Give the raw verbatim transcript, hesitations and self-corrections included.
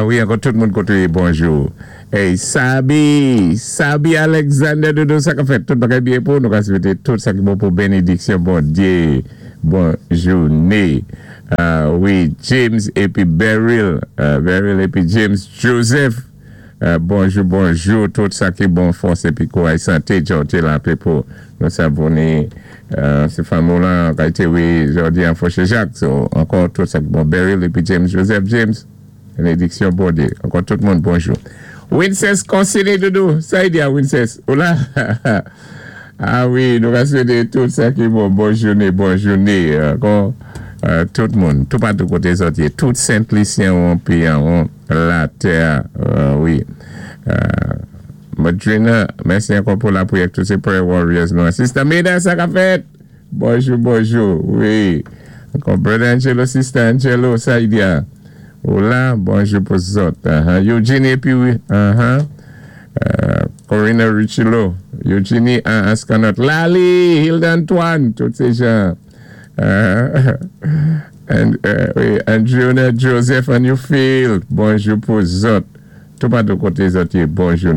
Ah wi, ankò tout moun koté, bonjou. Hey, Sabi, Sabi Alexander Dodo, sa ka fèt tout bagay byen pou nou ka swété tout sa ki bon pou bénédiksyon, Bondyé, bon jouné. Ah wi, James épi Beryl, euh, Beryl épi James Joseph. Euh, bonjou, bonjou, tout sa ki bon fòs épi kouray santé, jòdi la pou nou savonné, euh, sé fanmi la, ki té wi, jòdi an Fòché Jacques, so, ankò tout sa ki bon, Beryl épi James Joseph James, bénédiksyon Bondyé. Ankò tout moun, bonjou. Wincess Consigny Doudou, sa y di a Wincess, ou la? Ah wi, nou ka swété tout sa ki bon, bon jouné, bon jouné, ankò, euh, tout moun, tout patou koté zòt yé, tout Sent-Lisyen ou pi an, latè, euh, wi. Euh, Madrina, mèsi ankò pou lapriyè, tout sé prayer warriors nou. Sister Mida, sa ka fèt? Bonjou, bonjou, wi. Ankò Brother Angelo, Sister Angelo, sa y di a? Ou la, bonjou pou zòt. Uh-huh. Eugenie épi wi, uh-huh. Uh, Corina Richilo, Eugenie uh, Ascanot, Lali, Hilda Antoine, tout sé jan. Uh, and, uh, wi, Andrew Joseph and Newfield, bonjou pou zòt. Tout patou koté zòt yé, bonjou.